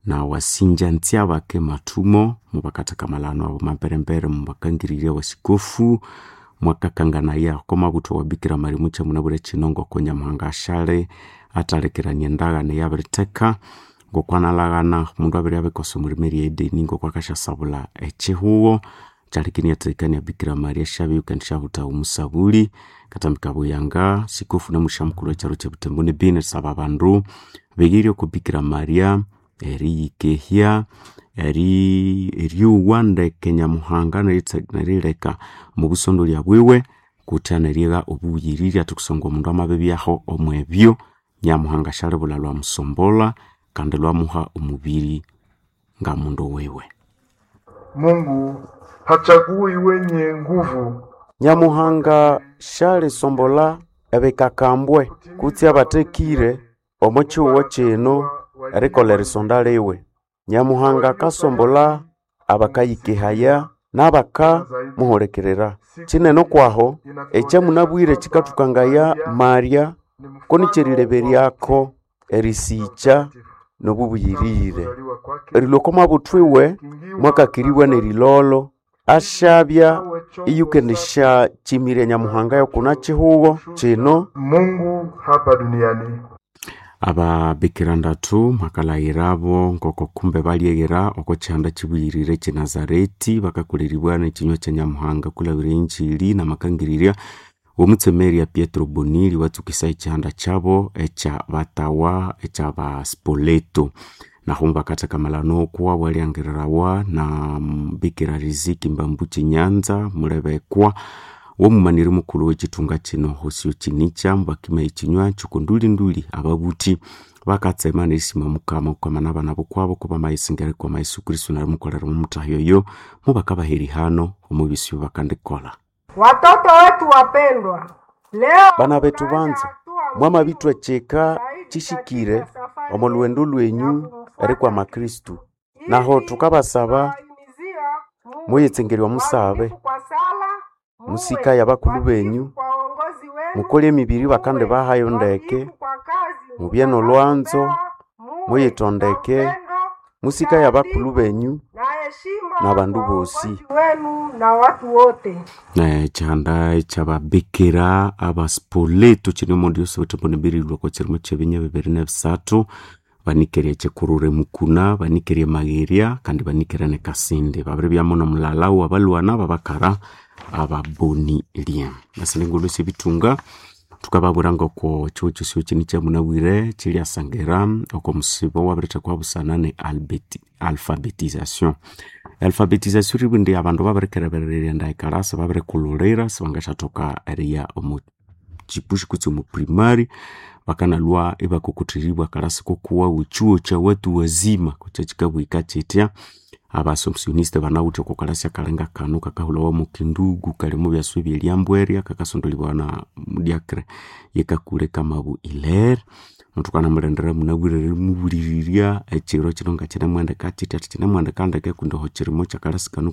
Na wasinja ntyabake mathumo mubakathakamalano abo mamberembere mubakangirire wasikofu mwakakanganaya oko mabuthwa wa Bikira Maria mukyamunabwire kino ngoko Nyamuhanga asyali athalekerania endagano eyabiritheka ngokwanalhaghana omundu abiribya abikosa omwirima erya Edeni ngoko akasyasabulha ekyihugho kyaleka iniathekania Bikira Maria syabya iyikendisyabuta omusabuli kathambika buyanga sikofu namusyamukulhu wekyaro kyebutembo ne Beni erisaba abandu beghirye oko Bikira Maria eriyikehya eryowa ndeke Nyamuhanga nerileka omubusondolya bwiwe kutya nerigha obubuyiriri athi kusangwa omundu amabibyaho omwebyo Nyamuhanga syalibulha lwamusombolha kandi lwamuha omubiri ngamundu wiwe. Mungu hachagui wenye nguvu. Nyamuhanga syalisombolha ebikakambwe kutse abathekire omo kihugho kino erikolha erisonda liwe. Nyamuhanga akasombolha abakayikehaya n'abakamuhulikirira. Kinene okwaho ekyamunabwire kikathukangaya Maria konikyerileberyako erisikya n'obubuyirire. Erilhwa oko mabuthwiwe mwakakiribwa n'erilolo asyabya iyikendisyakimirya Nyamuhanga yokuna kihugho kino. Mungu hapa duniani. Ababikira ndathu mwakalhaghirabo ngoko kumbe balyeghera oko kihanda kibuyirire ekye Nazareti bakakoleribwa n'ekinywa kya Nyamuhanga kulabira enjiri n'amakangirirya w'omutsemeria Pietro Bonilli watsukisa ekihanda kyabo ekya batawa ekya Baspoleto. Nahu mubakathakamalana okwa bwalyangirirawa na Bikira Riziki Mbambuchi Nyanza mulebekwa womumaniri mukulhu w'ekithunga kino Hosio Kinicha mubakima ekinywa kyokondulinduli ababuthi bakatsema nerisima Mukama kwamana abana bokwabo kubamayisingera erikwama Yesu Kristo nerimukolera omumutahyo oyo mubakabaha erihano omubisi bakandikolha. Watoto wetu wapendwa, leo Bana bethu banza mwamabithwa kyika kishikire omo lhughendo lwenyu erikwama Kristo. Naho thukabasaba muyitsengerye omusabe musikaye abakulhu benyu mukole emibiri bakandibahayo ndeke mubye n'olwanzo muyithondeke musikaye abakulhu benyu n'abandu bosi. Wenu na watu wote. Ekihanda ekyababikira abaspoleto kiri omondi yose butembo nibirilwa oko kirimo kyebinya 2023 banikere ekikurure mukuna banikere emagherya kandi banikere ne Kasindi babiribyamu nomulala wabalwana babakara ababonilye. Esindi syebithunga thukababwira ngoko ekihugho kyosi kino kyamunabwire kyilyasangira oko musibo owabirithekwa busana ne alphabetisation. Alphabetisation ribwa indi abandu babirikereberera erighenda ekalasa babirikulhulira sibangasyathoka eriya omo kipushi kutse omo primary bakanalhwa ibakokotheribwa akalasi kokuwawu ekyuo kya watu wazima kyakyikabwika kyitya. Abasompsioniste banawithe oko kalasi akalinga kano kakahulhawa mu Kindugu kali omu byaswa ebyelyambwerya kakasondolibwa na mudiakre yekakule kamabu Hilaire. Muthukanamulindirira munabwire erimubulirirya ekiro kino ngakinemuhendeka kyitya athi kinemuhendeka ndeke kundi oho kirimo kyakalasi kano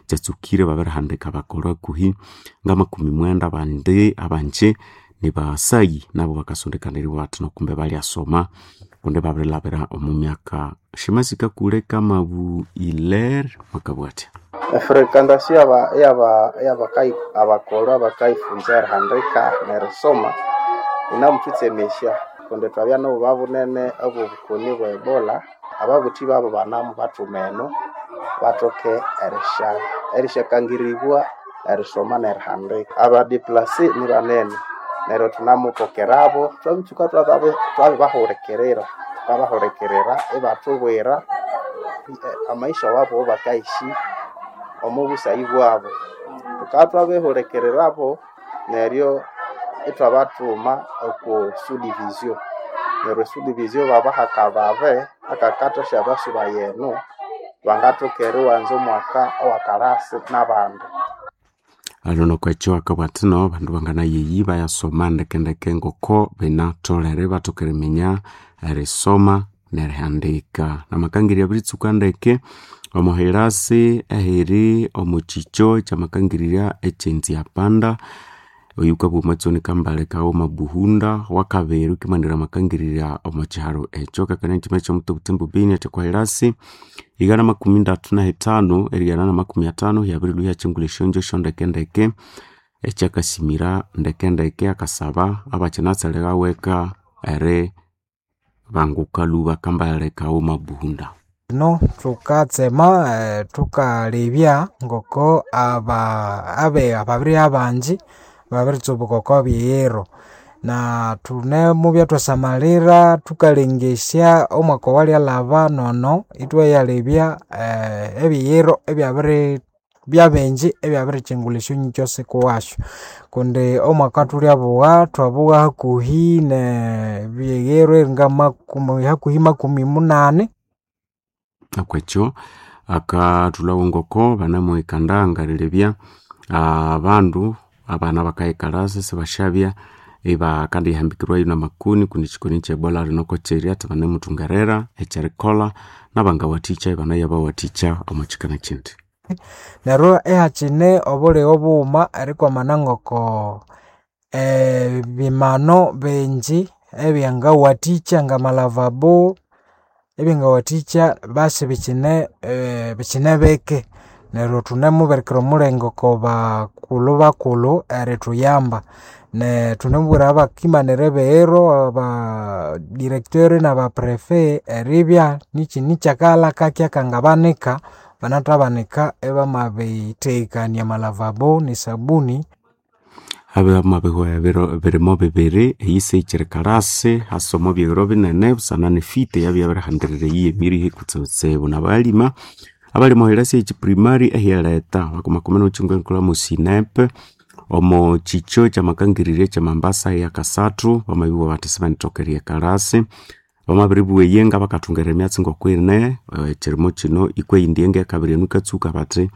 kyatsukire babirihandika bakolha hakuhi ngamakumi mwenda abandi abanje nibasayi nabo bakasondekaniribwa bathi nokumbe balyasoma kundi babirilhabira omu myaka shimasikakule kamabu Hilaire mwakabugha athya. Efrequentation abakolho abakayifunza erihandika nerisoma yinamuthutsemesya kundi thwabya nobuba bunene obwobukoni bwe Ebola ababuthi babu banamubathuma eno bathoke erisyakangiribwa erisoma nerihandika. Abadeplase nibanene neryo thunamupokerabo thwabitsuka thwabibahulikirira thukabahulikirira ibathubwira amaisha wabo awabakayishi omo busayi bwabo. Thukabya thwabihulikirirabo neryo ithwabathuma oko sudivizio neryo esudivizio babaha akababe akakathasya basuba eno bangathoka eriwanza omwaka owakalasi nabandi. Alhono okwekyo akabugha athi no abandu banganayeyi bayasoma ndekendeke ngoko binatholere ibathoka eriminya erisoma nerihandika. Namakangirya abiritsuka ndeke omo hilasi ehiri omo kikyo kyamakangirirya ekyenziapanda. Oyu kabwa omatsoni kambale kaghuma Buhunda wakabiri wukimanira amakangirira omo kyiharo ekyo kakania ekyima kyomuti Butembo Beni athekwa 135 erigana na 50 hyabirilhwa ihyakyingulha esyongyo syondekendeke ekyakasimira ndekendeke akasaba abakyinatsalirawo eri banguka lhuba kambale kaghuma Buhunda. No thukatsema thukalebya ngoko ababiri abangi babiritsubuka oko bighiro na thunemubya thwasamalira thukalengesya omwaka owalyalhaba nono ithwayalebya ebighiro ebyabiri byabingi ebyabirikyingulha esyonyikyo sikuwasyu kundi omwaka thulyabugha thwabugha hakuhi nebighiro eringa makumi hakuhi makumi munani. Okwekyo akathulhawo ngoko banamuhikanda ngalilebya abandu abana bakayikalasa sibasyabya ibakandihambikirwayo namakoni kundi ekikoni ekye Ebola rinoko kyiri athi banemuthungerera ekyerikolha nabangawathikya ibanayabawathikya omo kyikana kyindi. Neryo ihakyine obulighe bughuma erikwamana ngoko ebimano bingi ebyangawathikya ngamalavabo ebyangawathikya basi bikyine bikyine bike neryo thunemubirikira omulenge oko bakulhu bakulhu erithuyamba. Thunemubwira abakimanira ebighiro aba directeur naba prefet eribya nikyini kyakaghalha kakye akangabanika banathabanika ibamabithegekania amalavabo nesabuni. Habamabihwa ebiro birimo bibiri eyisi kalasi hasa omo bighiro binene busana nefite eyabya yabirihandirira eyi emirihe kutsibutsibu nabalima abalima ohirasi ekyiprimary ehyereta bakumakumi nomukyingo enkulha musinepe omo kyikyo kyamakangirire ekyamambasa eyakasathu bamabibugha bathi sibanithoka eryekalasi bamabiribugha eyenga bakathungera emyatsi ngokwine ekyirimo kino ikwa eyindi yenga eyakabiri enu yikatsuka bathi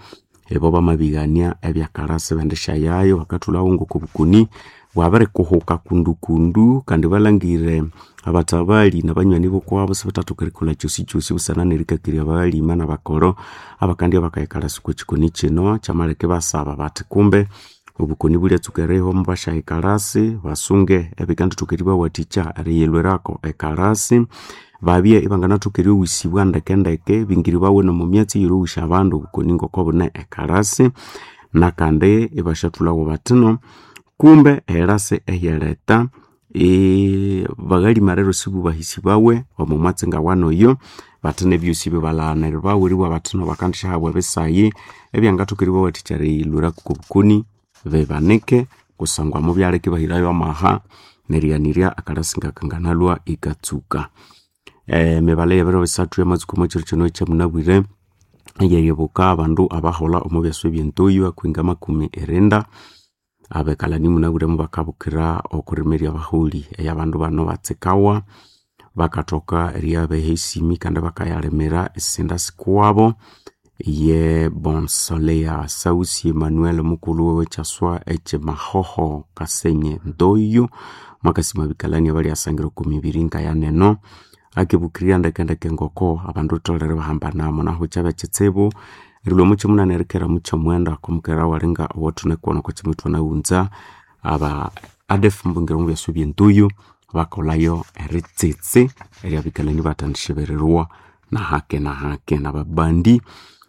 ibo bamabighania ebyakalasi ibendisyayayo bakathulhawo ngoko obukoni bwabirikuhuka kundukundu kandi balhangire abathabali nabanywani bokwabo sibathathoka erikolha kyosikyosi busana nerikakirya abalima nabakolho abakandya bakayikalasi okwa kikoni kino kyamaleka ibasaba bathi kumbe obukoni bulyatsuka erihwa mubasyayikalasi basunge ebikandithoka eribawathikya eriyilhwirako ekalasi babye ibanganathoka eryoghusibwa ndekendeke bingiribawe nomo myatsi eyerighusya abandu obukoni ngoko bune ekalasi nakandi ibasyathulhawo bathino kumbe erasi ehyereta baghalima rero sibubahisibawe omo mwatsi ngawanoyo bathi nebyosi bibalaghaniribawe eribugha bathino bakandisyahabwa ebisayi ebyangathoka eribawathikya eriyilhwirako okobukoni bibanike kusangwa mubyaleka ibahirayo amaha nerighanirya akalasi ngakanganalhwa ikatsuka. Emibale yebiro bisathu yamatsuka omo kyiro kino ekyamunabwire eyeribuka abandu abaholha omo byaswa ebyentoyo hakuhi ngamakumi irinda abekalani munabwire mubakabukira okurimirya abaholi eyabandu bano batsikawa bakathoka eryabeha esimi kandi bakayalimira esinda sikuwabo ye Bonsolea Sausi Emmanuel mukulhu wekyaswa ekyemahoho Kasenyi Ntoyo mwakasima abikalani abalyasangira oko mibiri ngayaneno akibukirya ndekendeke ngoko abandu thutholere ibahambanamo nahu kyabya kyitsibu erilhwa omo kyomunani erikera mukyomwenda okomukera walinga owathunekuwana oko kyima ithwanaghunza aba ADF mbungira omu byaswa ebyentoyo bakolhayo eritsitsi eryabikalani bathandishibirirwa nahake nahake nababandi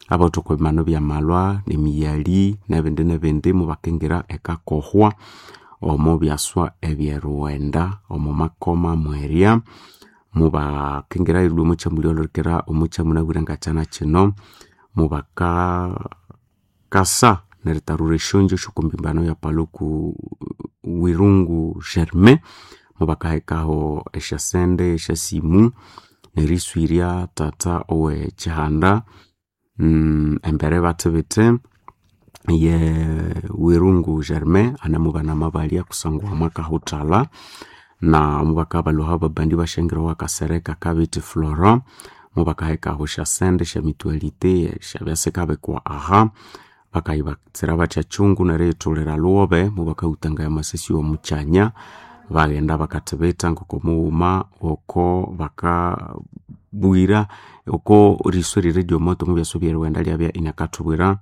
abawithe oko bimanu byamalwa nemiyali nebindi nebindi mubakingira ekakohwa omo byaswa ebyerughenda omo makoma mwerya mubakingira erilhwa omo kyamulya olhukira omo kyamunabwire ngakyana kino mubakakasa neritarura esyongyo syokwambimbano ya Paluku Wirungu Germain mubakahekaho esyasente esyasimu neriswirya tata owe kyihanda embere bathibithe ye Wirungu Germain anemubana amabalya kusangwa mwakahuthalha na mubakabalhuha ababandi basyangiraho akasereka kabithi Florent mubakahekaho esyasente esyamitualite esyabya sikabikwa aha bakayibatsira bathya kyungu neriyithulira lhuwobe mubakahutangaya amasasi omukyanya. Baghenda bakathibitha ngoko mughuma oko bakabwira oko riso erye moto omubyasa ebyerighenda lyabya inakathubwira.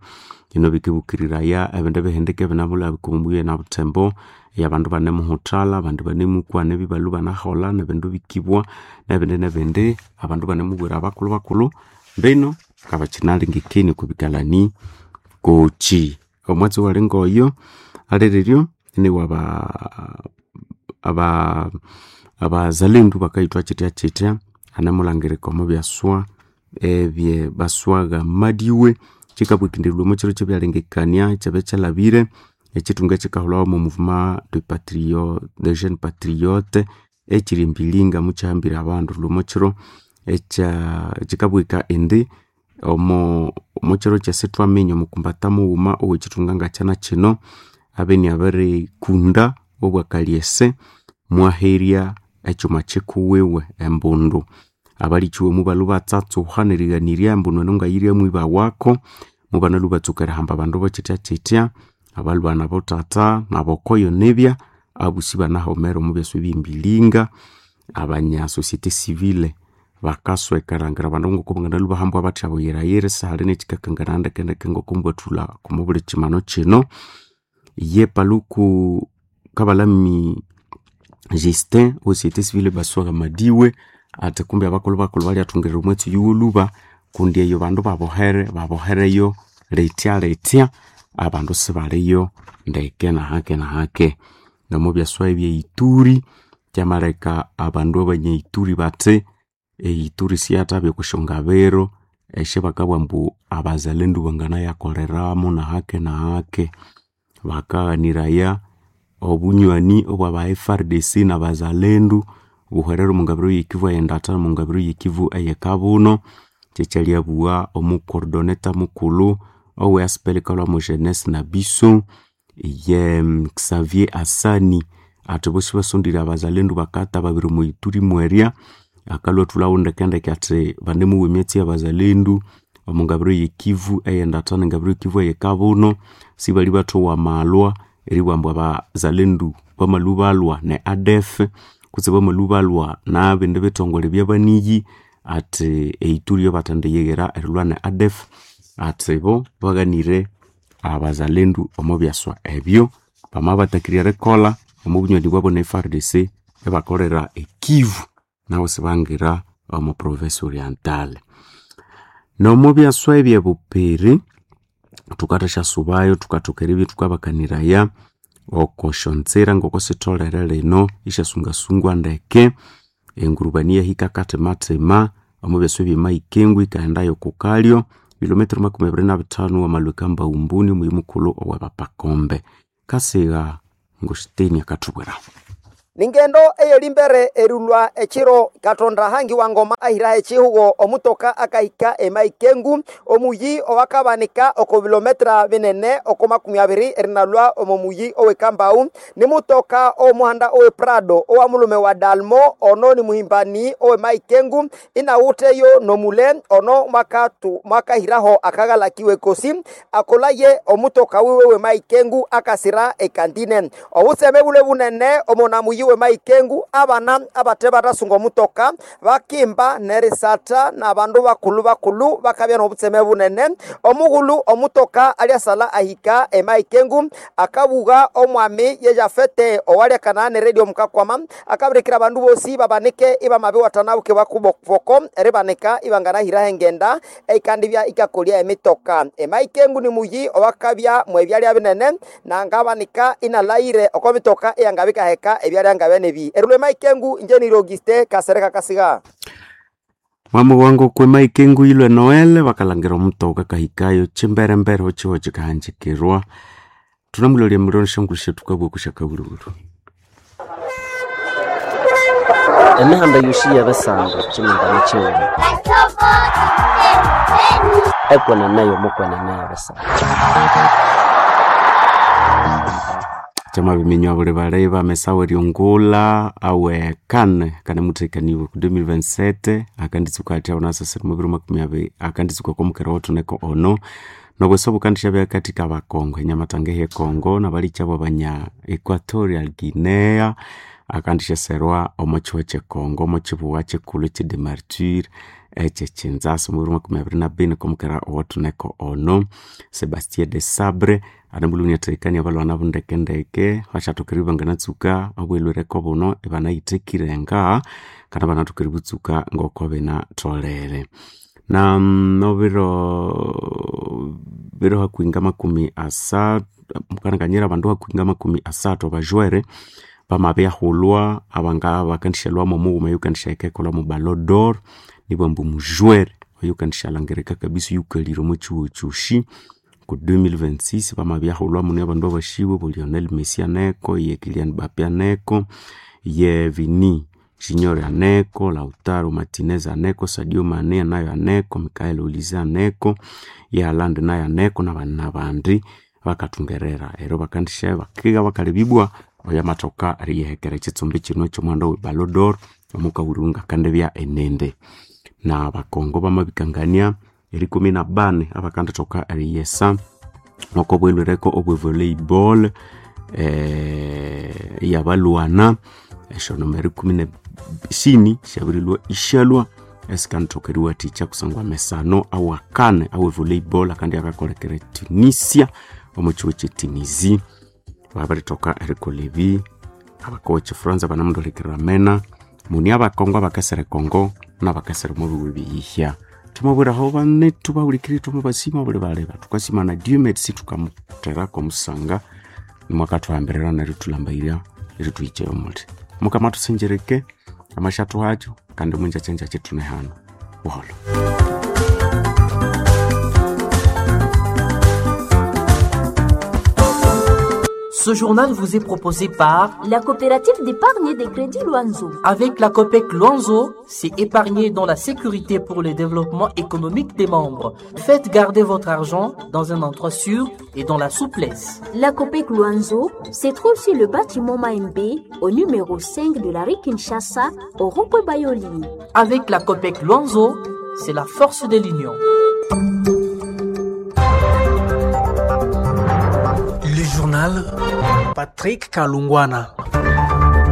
Bino bikibukiriraya ebindi bihindika ebinamulabika omubuya na Butembo eyabandu banemuhuthalha abandi banemukwana ebibalhwa ibanaholha nebindu bikibwa nebindi nebindi abandu banemubwira abakulhu bakulhu mbino ngabakyinalengekania okwa bikalani kochi. Omwatsi owali ngoyo alireryo niwaba abazalendu bakayithwa kyithya kyithya anemulhangirika omo byaswa ebye baswagha madiwe kyikabwikindirirwa omo kyiro kyebyalengekania ekyabya kyalhabire ekyithunga ekyikahulhawa omo mouvement de patrio de jeunes patriotes ekyiri embilinga mukyahambire abandu lhwa omo kyiro ekya kyikabwika indi omo kyiro kyesithwaminya omukumbata mughuma owekyithunga ngakyana kyino abe inabirikunda obwakalyese mwaherya ekyuma kyikuwiwe embundu. Abalikiwe mubalhwa ibatsatsuha nerighanirya embundu eno ngayirya mwiba wako mubanalhwa ibatsuka erihamba abandu bokyithya kyithya abalhwa nabothatha nabokoyo nibya abosi ibanahomera omo byasa ebyembilinga. Abanya societe civile bakasweka erilhangira abandu ngoko banganalhwa ibahambwa bathya buyirayira isihali nekyikakanganaya ndekendeke ngoko mbwathulha omo buli kyimano kyino. Ye Paluku Kabalami Justin owe societe civile baswagha madiwe athi kumbi abakulhu bakulhu balyathungirira omwatsi oyu wolhuba kundi eyo bandu babohere babohereyo lithya lithya abandu sibaliyo ndeke nahake nahake. Nomo byaswa ebye Ituri kyamaleka abandu abanya Ituri bathi eIturi siyathabya okwasyongabiro esyabakabugha ambu abazalendu banganayakoleramu nahake nahake. Bakaghaniraya obunywani obwa FARDC nabazalendu buhwerere omungabiro yekivu eyendatha nomungabiro yekivu eyekabuno. Kyekyalhyabugha omucoordinator mukulhu owe ASPEL ikalhwa jeunesse na biso ye Xavier Asani athi bosi basondire abazalendu bakatha babiri omo Ituri mwerya akalhwa athulhawo ndekendeke athi banemuwa emyatsi yabazalendu omungabiro yekivu eyendatha nengabiro yekivu eyekabuno sibali bathowa amalhwa eribugha ambu abazalendu bamalhwa balhwa ne ADF kutse bamalhwa balhwa nabindi bithongole ebyabaniyi athi eIturi yobathendiyighira erilhwa ne ADF athi bo baghanire abazalendu omo byaswa ebyo. Bamabathakirya erikolha omo bunywani bwabo ne FARDC ibakolera ekivu nabo isibangira omo province oriental. Nomo byaswa ebyebupiri thukathashyasubayo thukathoka eribya thukabakaniraya oko syonzira ngoko sitholere lino isyasungasungwa ndeke engurubani iyahika kathimathima omo byaswa ebyemahikengwe yikaghendayo oko kalyo bilometero 25 wamalhwa ekambaumbuni omuyi mukulhu owebapakombe. Kasigha Ngositeni akathubwira. Ningendo eyelimbere erilwa ekiro Katonda hangi wa ngoma ahiraho ekihugo omutoka akahika emaikengu omuyi owakabanika oko bilometra binene oko 20 erinalwa omo muyi owekambau ni mutoka omuhanda owe Prado owa mulume wa Dalmo ono ni muhimbani owe maikengu inawuteyo nomule ono mwakatu mwakahiraho akagalakiwe kosi akolaye omutoka wiwe we maikengu akasira ekandine obuseme bule bunene omona muyi we maikengu abana abate batasunga omutoka bakimba nerisata n'abandu bakulu bakulu bakabya n'obutseme bunene omughulu omutoka alyasala ahika emaikengu akabuga omwami ye Jafete owalya ne radio mukakwama akabirikira abandu bosi babanike ibamabiwatana buke bakuboko eribanika ibanganahiraho engenda eikandibya ikakolya emitoka emaikengu ni muyi owakabya mwebyalya binene nangabanika inalayire oko mitoka eyangabikaheka ebyalya ngabenebi erulwe maikengu inje ni Auguste Kasereka Kasiga. Mwami wangu kwe maikengu ilwe Noel bakalangira omutoka kahikayo chimberembere ochiwo chikahanjikirwa tunamulolya muliro shangushe tukabwa kushaka bulubulu. Emihanda yosi yabesanga chimingano chiwuma ekweneneyo mukwenene yabesanga. Chama biminywa buli baleba mesawe ryongula awe kane kane muthekaniwe ku 2027 akanditsuka athi abonasasira mu 2020 akanditsuka komukera wothuneko ono nobweso bukandisha katika bakongo enyamatanga ehe Kongo nabalikyabo banya Equatorial Guinea Akandisheserwa omo kiho kyekongo omo kibuwa kikulhu ekye Martyrs ekyekinzasa omubiri 2024 komukera owathuneko ono. Sebastien de Sabre anamulhunia athahikania abalwana bundekendeke basyathokera ibanganatsuka obwelhwereko buno ibanayithekire nga kandi ibanathoka eributsuka ngoko binatholere. Na nobiro biro hakuhi ngamakumi asathu mukananganyira abandu hakuhi ngamakumi asathu abajwere bamabyahulwa abanga bakandishalhwamu omughuma oyukandisya ekolha mu Ballon d'Or nibwamba omujwere oyukandishalhangirika kabisa oyukalire omo kihugho kyosi ku 2026 bamabyahulwa mune abandu abasibwe bo Lionel Messi aneko, ye Kylian Mbappe aneko, ye Vini Junior aneko, Lautaro Martinez aneko, Sadio Mane nayo aneko, Michael Olise aneko, ye Haaland nayo aneko nabandi nabandi bakathungerera ero bakandisya bakiga bakalebibwa oyamathoka eriyihekera ekitsumbi kino ekyomuhanda we Ballon d'Or omukahulirwe ngakandibya enende. Na abakongo bamabikangania erikumi na bani abakandithoka eriyesa oko bwelhwereko obwe volleyball eyabalwana esyonomba erikumi ne sini syabirilhwa isyalhwa esikandithoka eriwathikya kusangwa amesano awakane awe volleyball akandi akakolekera Tunisia omo kihugho kye Tunisie babirithoka erikolha ebi. Abakowa ekifuranza banamuthulikirira amena muni abakongo abakesera ekongo nabakesera omo bihugu ebiyihya. Thwamabwiraho banethu bahulikiriri thwamabasima buli baleba thukasima na Dieu merci thukamutherako omusanga nimwakathuhambirira nerithulhambayirya erithuhikyayo omuli. Mukama athusengereke amashathu hakyo kandi munjakyanjakya ithune hano. Buholho. Ce journal vous est proposé par la coopérative d'épargne et de crédit Luanzo. Avec la COPEC Luanzo, c'est épargner dans la sécurité pour le développement économique des membres. Faites garder votre argent dans un endroit sûr et dans la souplesse. La COPEC Luanzo se trouve sur le bâtiment Maembe, au numéro 5 de la rue Kinshasa, au rond-point Bayoli. Avec la COPEC Luanzo, c'est la force de l'union. Le journal Patrick Kalungwana.